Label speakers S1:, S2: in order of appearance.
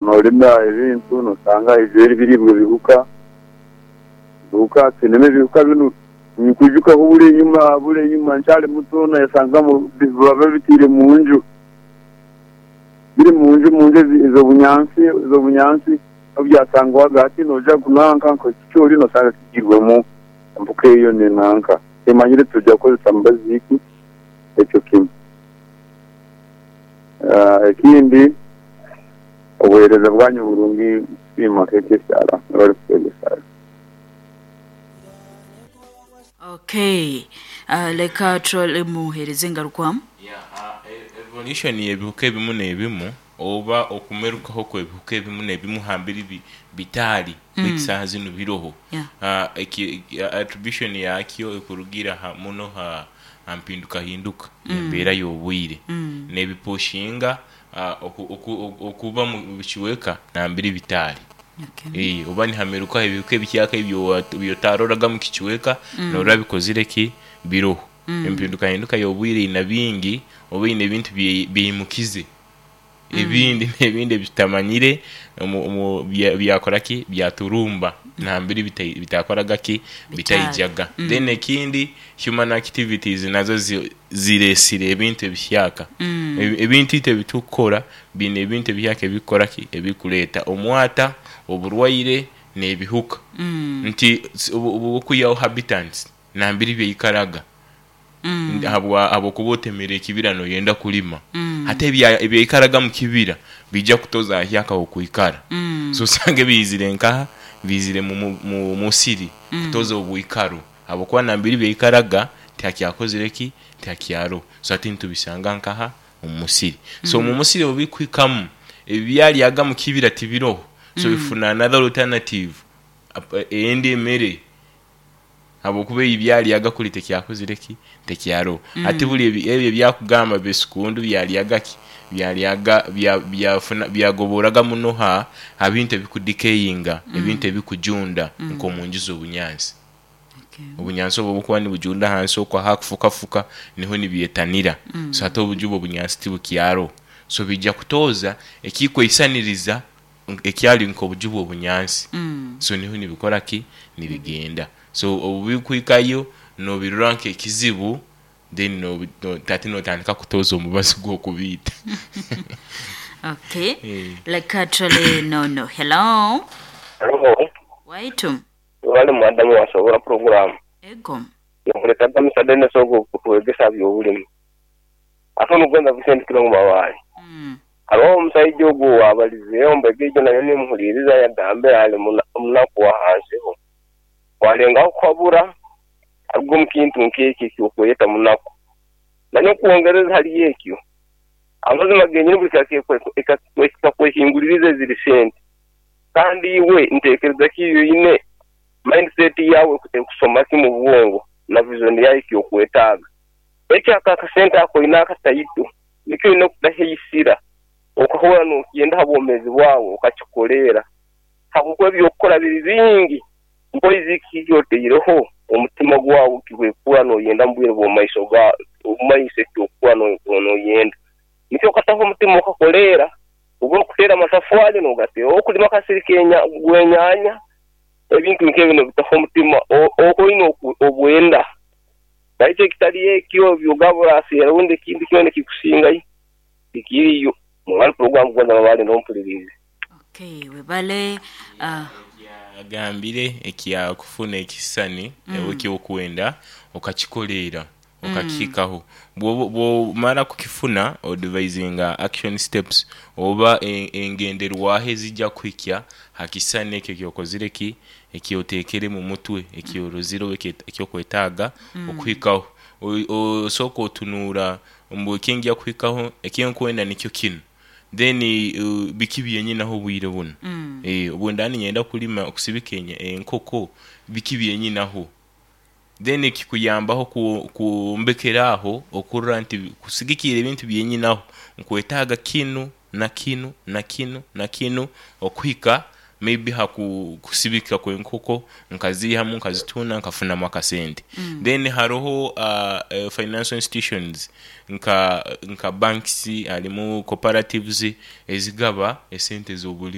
S1: Nolima ebintu nosanga haizire ebiribwa ebihuka, ebihuka twinemu ebihuka binu nkwijukaho buli enyuma nkyali muto nayesangamu babitiire munju biri munju munju ez'obunyansi ez'obunyansi obubyasangwaga hati noja nanka nkekicoori nosanga kigiirwemu empuka eyo nenanka timanyire tujja kukozesa mubazi ki ekyo kimwe. Ekindi obuweereza bwanyu burungi nkusiima KKCR mwebale kutwegesa.
S2: Okay, leka turole muhereze engarukwamu.
S3: Yeah, evolution y'ebihuka ebimu n'ebimu oba okumerukaho kw'ebihuka ebimu n'ebimu hambiri bitaali baitu saaha zinu biroho. Attribution yakyo ekurugiira muno ha mpindukahinduka y'embeera y'obwire n'ebipushinga okuba mu bicweka nambere bitaali. Oba nihamerukaho ebihuka ebihyaka ebi otaroraga mu kicweka norora bikozire ki? Biroho. Empindukahinduka y'obwire ina bingi oba ine ebintu byeimukize ebindi n'ebindi ebitutamanyire byakora ki? Byaturumba nambere bitakoraga ki? Bitaijaga. Then ekindi, human activities nazo ziresire ebintu ebihyaka. Ebintu itwe ebitukukora biine ebintu ebihyaka ebikukora ki? Ebikuleeta omwata, oburwaire n'ebihuka. Nti obwokwihaho habitants nambere byaikaraga habwokuba otemere ekibira noyenda kulima, hati ebyaikaraga mu kibira biija kutoza hahyaka ahokwikara. So osange biizire nkaha? Biizire mu musiri kutoza obwikaro habwokuba nambere byaikaraga tihakyakozire ki? Tihakyaroho. So hati nitubisanga nkaha? Omu musiri. So omu musiri obubikuhikamu, ebibyaryaga mu kibira tibiroho, so bifuna another alternative endi emere habwokuba eyibyaryaga kuri tekyakozire ki? Tekyaroho. Hati buri ebyo ebyakugamba besikundu byaryaga ki? Byaryaga byagoboraga muno ha bintu ebikudecayinga, ebintu ebikujunda nk'omunju z'obunyansi. Obunyansi obwo obukuba nibujunda ahansi okwo ahakufukafuka niho nibyetanira. So hati obuju obwo obunyansi tibukyaroho. So biija kutooza ekikweisaniriza ekyali nk'obuju bw'obunyansi. So niho nibikora ki? Nibigenda. So obubikuhikayo nobirora nk'ekizibu then hati notandika kutooza omubazi gw'okubiita.
S2: Okay. Leka turole nono. Hello.
S4: Hello.
S2: Waitu.
S4: Webale madamu wasobora program.
S2: Ego.
S4: Nkuletaga Mister Dennis ogu okutwegesa byobulimi. Ate onugonza Vincent Kilongo Mabaale. Haroho omusaija ogu owabalizeeho mbega egyo nayo nimuhuliriza yagambire ali munaku wa hansiho. Walengaho kuhabura aruge omu kintu nk'ekyo eky'okweyeta munaku. Nanyowe kwongereza hali ekyo, amazima genyini buli ekakwehinguliriza eziri sente. Kandi iwe ntekereza ki yoine mindset yawe ekusoma ki mu bwongo na vision yawe ekyokwetaaga. Ekyo ako akasente ako oine akataito nikyo oine okutaheisira okahurra nokyenda ha bwomeezi bwawe okakikoleera habwokuba ebyokukora biri bingi mpoizi kiki ekyotaireho omutima gwawe kihwekura noyenda mu bwire bw'omumaiso omumaiso ekyokuba noyenda nikyo okataho omutima okakoleera oba okuteera amatafwali nogateera okulima akasiri gwenyanya ebintu nk'ebyo nobitaho omutima oine obwenda baitu ekitali ekyo byogaba oraseera rundi ekintu kyona ekikusingayo tikiriyo. Mwebale puroguramu kugonza Mabaale nompuliriize.
S2: Okay, webale.
S3: Agambire ekyakufuna ekisisani ekyokwenda okakikoleera okakihikaho. Bwomara kukifuna odivayizinga action steps oba engenderwaho ezija kuhikya ha kisisani ekyo ekyokozire ki? Ekyotekere mu mutwe, ekyorozire oba ekyokwetaaga okuhikaho. Osooka otunuura mbu ekinjya kuhikaho ekinkwenda nikyo kinu, then biki byenyinaho obwire bunu? Obundaba niinyenda kulima okusibika enkoko, biki byenyinaho? Then kikuyambaho kwombekera aho okurora nti kusigikiira ebintu byenyinaho nkwetaaga kinu na kinu na kinu na kinu okuhika maybe ha kusibika kw'enkoko nkaziihamu nkazitunda nkafunamu akasente. Then haroho financial institutions nka banks, harimu cooperatives ezigaba esente z'obulimi.